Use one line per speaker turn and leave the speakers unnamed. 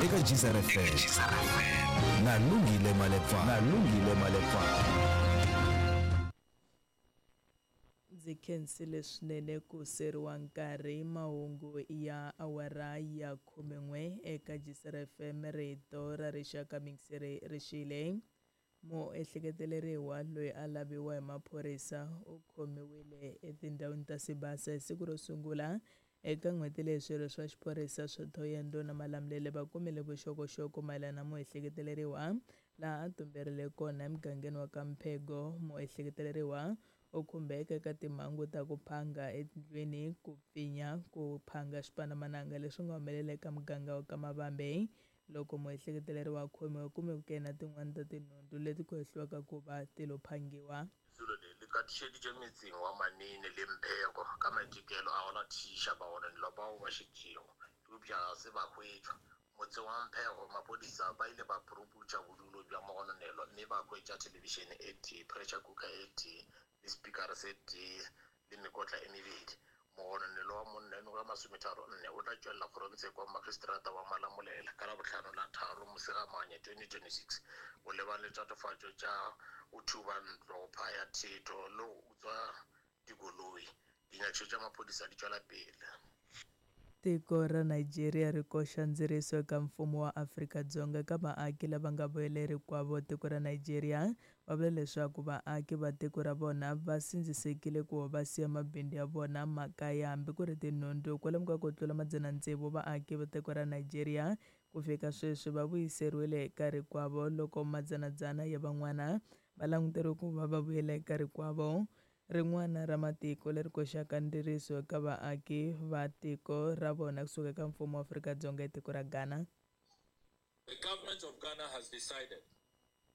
Eka Gzar FM na Lungile Malepa na Lungile Malepa.
Ndzi khensile swinene ku seriwa nkarhi mahungu ya awara ya khumen'we eka Gzar FM rito ra rixaka mingiseri rixile. Muehleketeleriwa loyi a laviwa hi maphorisa u khomiwile etindhawini ta Sibasa hi siku ro sungula eka n'hweti leyi swirho swa xiphorisa swa Thohoyandou na Malamulele va kumile vuxokoxoko mayelana na muehleketeleriwa laha a tumberile kona emugangeni wa ka Mphego. Muehleketeleriwa u khumbeka eka timhangu ta ku phanga etindlwini, ku pfinya, ku phanga swipandzamananga leswi nga humelela eka muganga wa ka Mavambe. Loko muehleketeleriwa a khomiwe, u kumiweke na tin'wana ta tinhundzu leti ku hehliwaka ku va ti lo phangiwa.
Lesolo le le katišeditšwe metseng wa Manene le Mphego ka maitekelo a go latišiša bagononelwa bao ba šetšego, eupša ga se ba hwetšwa. Motseng wa Mphego, maphodisa ba ile ba puruputša bodulo bja mogononelwa mme ba hwetša thelebišene e tee, pressure cooker e tee le sepikara se tee le mekotla e mebedi. Mogononelwa wa monna yo mengwaga e masometharo-nne o tla tšwelela kgorongtsheko wa magistrata wa Malamulele ka Labohlano la tharo Mosegamanye 2026 go lebane le tatofatšo tša go thuba ntlo, go phaya thetho le go utswa dikoloi. Dinyakišo tša maphodisa di tšwela pele.
Tiko ra Nigeria ri koxa ndziriso eka mfumo wa Afrika-Dzonga eka vaaki lava nga vuyela rikwavo. Tiko ra Nigeria va vula leswaku vaaki va tiko ra vona va sindzisekile ku va siya mabindzu ya vona, makaya hambi ku ri tinhundzu. Kwalomu ka ku tlula madzana tsevu vaaki va tiko ra Nigeria ku fika sweswi va vuyiseriwile eka rikwavo loko madzanadzana ya van'wana va languteriwe ku va va vuyela eka rikwavo. Rin'wana ra matiko leri koxaka ndziriso eka vaaki va tiko ra vona kusuka eka mfumo wa Afrika-Dzonga i tiko ra Ghana.
The government of Ghana has decided